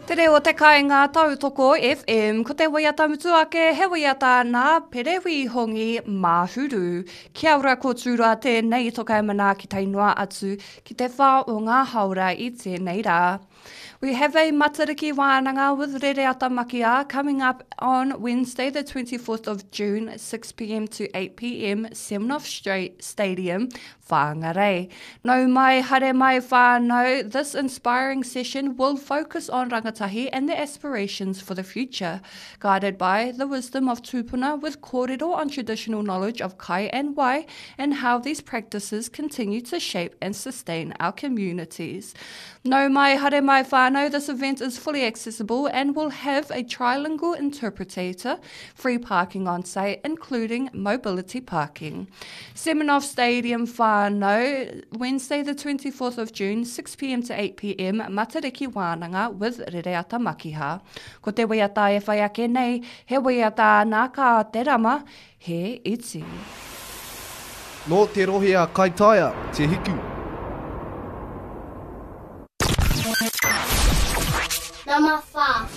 Te reo o te kainga tautoko FM, ko te waiata mutu ake he waiata nā Pere Wīhongi Māhuru. Kia ora ko Tūroa tēnei toka e manaaki tae noa atu ki te whā o ngā haora i tēnei rā. We have a Matariki Wānanga with Rereata Makia coming up on Wednesday the 24th of June 6pm to 8pm Semenoff Stadium, Whangarei. Nau mai, haere mai whānau, this inspiring session will focus on rangatahi and their aspirations for the future, guided by the wisdom of tūpuna with kōrero on traditional knowledge of kai and wai and how these practices continue to shape and sustain our communities. Nau mai, haere mai whānau, this event is fully accessible and will have a trilingual interpretator, free parking on site, including mobility parking. Semenoff Stadium whānau, Wednesday the 24th of June, 6pm to 8pm, Matariki Wānanga with Rereata Makiha. Ko te waiata e whai ake nei, he waiata nā Kā Te Rama, he iti. Nō te rohe a Kaitaia, Te Hiku. Nama wha.